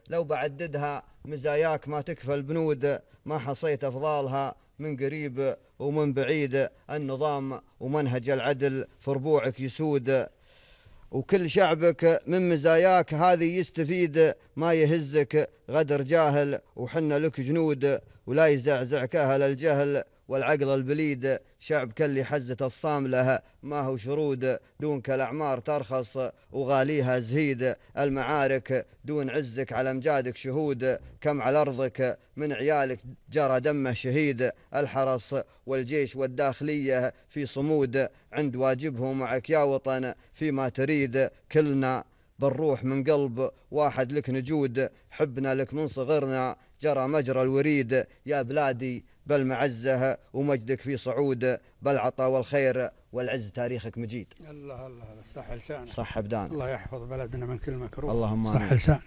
لو بعددها مزاياك ما تكفى البنود، ما حصيت أفضالها من قريب ومن بعيد. النظام ومنهج العدل في ربوعك يسود، وكل شعبك من مزاياك هذه يستفيد. ما يهزك غدر جاهل وحنا لك جنود، ولا يزعزعك أهل الجهل والعقل البليد. شعبك اللي حزة الصاملة ما هو شرود، دونك الأعمار ترخص وغاليها زهيد. المعارك دون عزك على امجادك شهود، كم على أرضك من عيالك جرى دمه شهيد. الحرس والجيش والداخلية في صمود، عند واجبهم معك يا وطن فيما تريد. كلنا بالروح من قلب واحد لك نجود، حبنا لك من صغرنا جرى مجرى الوريد. يا بلادي بالمعزة ومجدك في صعود، بالعطا والخير والعز تاريخك مجيد. الله الله، صح لسانك، صح أبدان. الله يحفظ بلدنا من كل مكروه. اللهم صح لسانك.